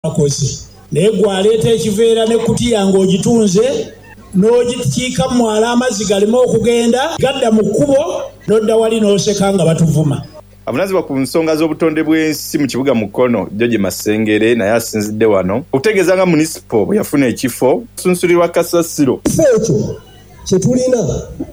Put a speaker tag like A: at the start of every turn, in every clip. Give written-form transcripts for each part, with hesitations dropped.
A: Akoze naye gwe aleeta ekiveera n'ekkutiya ng'ogitunze n'ogikiika mu mwala amazzi galeme okugenda gadda mu kkubo n'odda wali n'oseka nga batuvuma.
B: Avunaanyizibwa ku nsonga z'obutonde bw'ensi mu kibuga Mukono, George Masengere naye asinzidde wano okutegeeza nga Munisipo bweyafuna ekifo osunsulirwa kasasiro.
C: Ekifo ekyo kye tulina,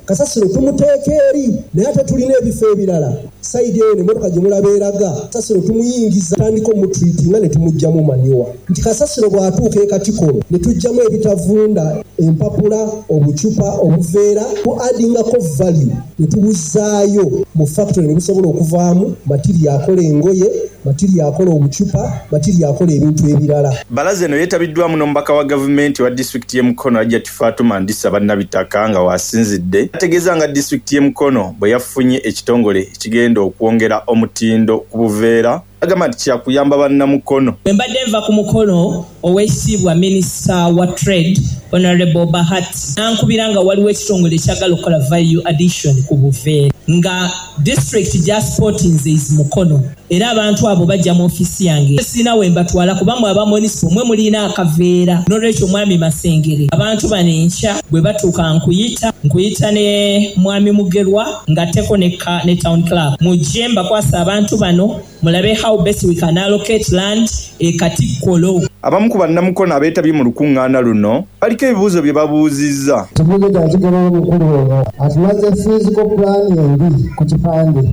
C: kasasiro tumuteeka eri naye ate tulina ebifo ebirala sayidi eyo n'emotoka gye mulaba eraga, kasasiro tumuyingiza tutandika omutreatinga ne tumuggyamu manure nti kasasiro bw'atuuka e Katikoro ne tuggyamu ebitavunda, empapula, obucupa, obuveera tu addingako value ne tubuzzaayo mu factory ne busobola okuvaamu material akola engoye, Matiriyo akola obucupa, matiriyo akola ebintu ebirala.
B: Bbalaza eno yetabiddwamu n'omubaka wa gavumenti owa disitulikiti y'e Mukono Hajjati Fatuma Ndisa Bannabitaka nga w'asinzidde n'ategeeza nga disitulikiti y'e Mukono bweyafunye ekitongole ekigenda okwongera omutindo ku buveera agamba nti kyakuyamba bannamukono.
D: Bwe mbadde nva ku mukolo Owekitiibwa Minisita wa Trade Honourable Bahati nankubira nga waliwo ekitongole ekyagala okukola value addition ku buveera nga district gyasupportinze is Mukono era abantu abo bajja mu ofiisi yange sirina wembatwala kuba mwe aba Monicipo mwe mulina akaveera nolwekyo Mwami Masengere abantu bano enkya bwebatuuka nkuyita nkuyita ne Mwami Mugerwa ngatteko ne Town Clerk mujje mbakwase abantu bano Mulabe how best we can allocate land e Katikkolo.
B: Abamu ku bannamukono abeetabye mu lukungaana luno baliko ebibuuzo bye babuuzizza.
E: Ekibuuzo kya kigoberera omukulu ono atumaze physical plan embi ku kipande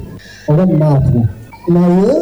E: oba maapu naye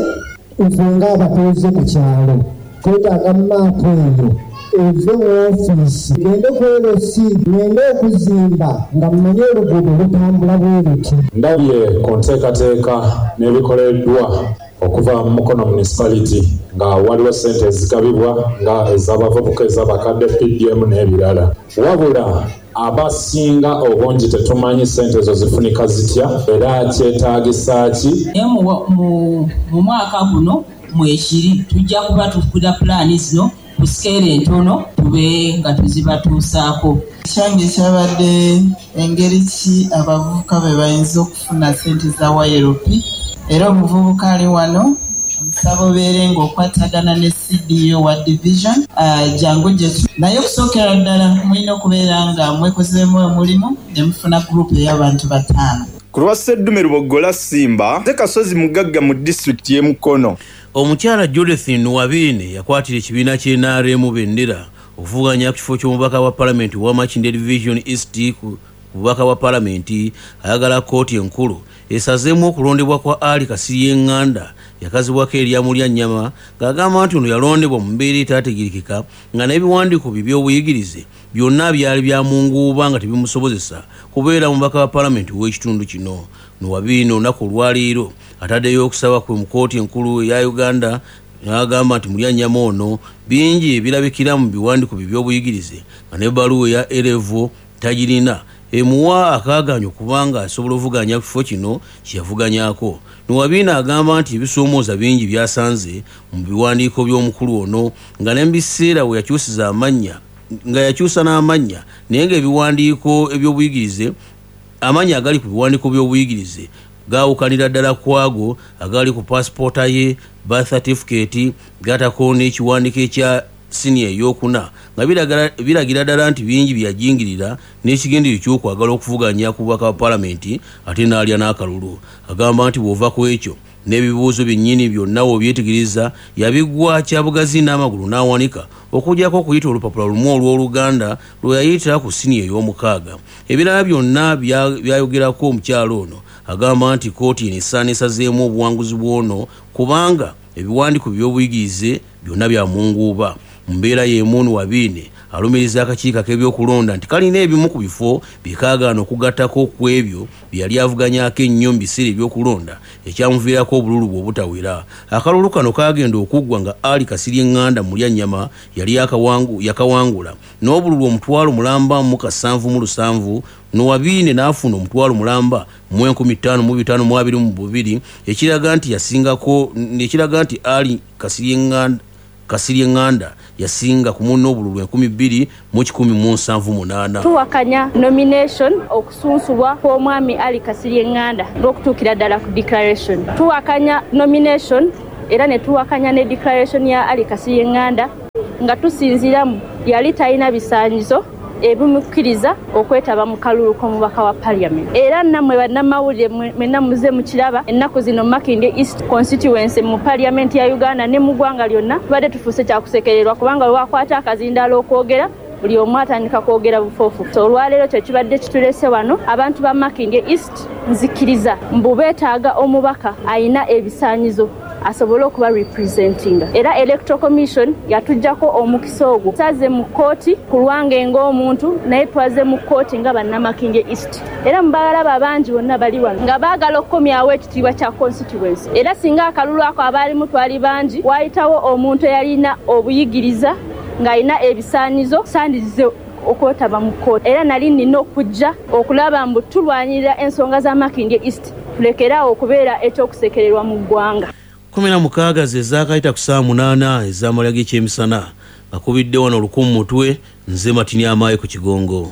E: ife nga abatuuze ku kyalo twetaaga maapu eyo eve mu ofiisi egende ku LC. Mwenda okuzimba nga mumanyi oluguudo lutambula bwe luti.
F: Ndabye ku nteekateeka n'ebikoleddwa okuva mu Mukono Municipality nga waliwo ssente ezigabibwa nga ez'abavubuka, ez'abakadde, PDM n'ebirala wabula abasinga obungi tetumanyi ssente ezo zifunika zitya era kyetaagisa ki.
G: Aye mu mwaka guno mwekiri tujja kuba tukuda pulaani zino ku sikeero entono tube nga tuzibatuusaaku.
H: Ekyange kyabadde engeri ki abavubuka bwebayinza okufuna sente za YLP era omuvubuka ali wano nkusaba obeere nga okwatagana ne CDO wa division jangu gyetuli naye okusokera ddala mulina okubeera nga mwekozeemu omulimu nemufuna group eyabantu batano.
B: Ku lwa Sseddume Luboggola Ssimba, nze Kasozi Mugagga mu disitulikiti y'e Mukono.
I: Omukyala Judith Nuwabiine yakwatira ekibiina ki nrm bendera okuvuganya ku kifo ky'omubaka wa palamenti owa Makindye Division East ku bubaka bwa palamenti ayagala kkooti enkulu esazeemu okulondebwa kwa Ali Kasirye Nganda yakazibwako erya Mulyannyama ng'agamba nti ono yalondebwa mu mbeera etaategeerekeka nga n'ebiwandiiko bye eby'obuyigirize byonna byali bya munguuba nga tebimusobozesa kubeera mubaka wa palamenti ow'ekitundu kino. Nuwabiine olunaku olwaleero ataddeyo okusaba kwe mu kkooti enkulu eya Uganda n'agamba nti Mulyannyama ono bingi ebirabikira mu biwandiiko bye eby'obuyigirize nga n'ebbaluwa eya A-Level tagirina emuwa akaagaanya okuba nga asobola ovuganya ku kifo kino kye yavuganyaako. Nuwabiine agamba nti ebisoomooza bingi by'asanze mu biwandiiko by'omukulu ono nga ne mu biseera we yakyusiza amannya nga yakyusa n'amannya naye ng'ebiwandiiko eby'obuyigirize Amannya agali ku biwandiiko by'obuyigirize gaawukanira ddala ku ago agali ku paasipoota ye, birth certificate, gattako n'ekiwandiiko ekya siniya eyookuna nga biragira ddala nti bingi bye yajingirira n'ekigendererwa eky'okwagala okuvuganya ku bubaka bwa Palamenti ate n'alya n'akalulu. Agamba nti bw'ova ku ekyo n'ebibuuzo byennyini byonna w'obyetegereza yabigwa kyabugazi n'amagulu n'awanika okuggyako okuyita olupapula lumu olw'Oluganda lwe yayita ku siniya ey'omukaaga. Ebirala byonna by'ayogerako omukyala ono agamba nti kkooti eno esaana esazeemu obuwanguzi bw'ono kubanga ebiwandiiko bye eby'obuyigirize byonna bya munguuba. Mu mbeera y'emu Nuwabiine alumiriza akakiiko ak'ebyokulonda nti kalina ebimu ku bifo bye kaagaana okugattako ku ebyo bye yali avuganyaako ennyo mu biseera eby'okulonda ekyamuviirako obululu bwe obutawera. Akalulu kano kaagenda okuggwa nga Ali Kasirye Nganda Mulyannyama yali yakawangula n'obululu omutwalo mulamba mu kasanvu mu lusanvu Nuwabiine n'afuna omutwalo mulamba mu enkumi ttaano mu bitaano mu abiri mu bubiri ekiraga nti yasingako ekiraga nti Ali Kasirye Nganda Kasirye Nganda yasinga ku munne obululu 2178.
J: Tuwakanya nomination, okusunsulwa kw'omwami Ali Kasirye Nganda n'okutuukira ddala ku declaration. Tuwakanya nomination era ne tuwakanya ne declaration ya Ali Kasirye Nganda. Nga tusinziira mu yali talina bisaanyizo ebimukkiriza okwetaba mu kalulu k'omubaka wa parliament. Era nammwe bannamawulire mwenna muze mukiraba ennaku zino Makindye East constituency mu parliament ya Uganda ne mu ggwanga lyonna tubadde tufuuse kyakusekererwa, kubanga bwe wakwata akazindaalo okwogera buli omu atandika kwogera bufoofu. So olwaleero kye kibadde kitulese wano, abantu ba Makindye East nzikiriza mbu beetaaga omubaka alina ebisaanyizo asobole okuba representinga, era Electoral Commission yatuggyako omukisa ogwo. Twaze mu kkooti ku lwange ng'omuntu, naye twaze mu kkooti nga bannamakindye East, era mubalaba bangi bonna bali wano nga baagala okukomyawo ekitiibwa kya constituency. Era singa akalulu ako abaalimu twali bangi, waayitawo omuntu eyalina obuyigiriza ng'alina ebisaanyizo, sandize okwetaba mu kkooti, era nali nina okujja okulaba mbu tulwanirira ensonga za Makindye East, tulekeraawo okubeera ekyokusekererwa mu ggwanga.
I: 16 ze zaakayita ku ssaawa 8 ez'amalya g'ekyemisana, bakubidde wano oluku mu mutwe. Nze Matini Amaayi ku Kigongo.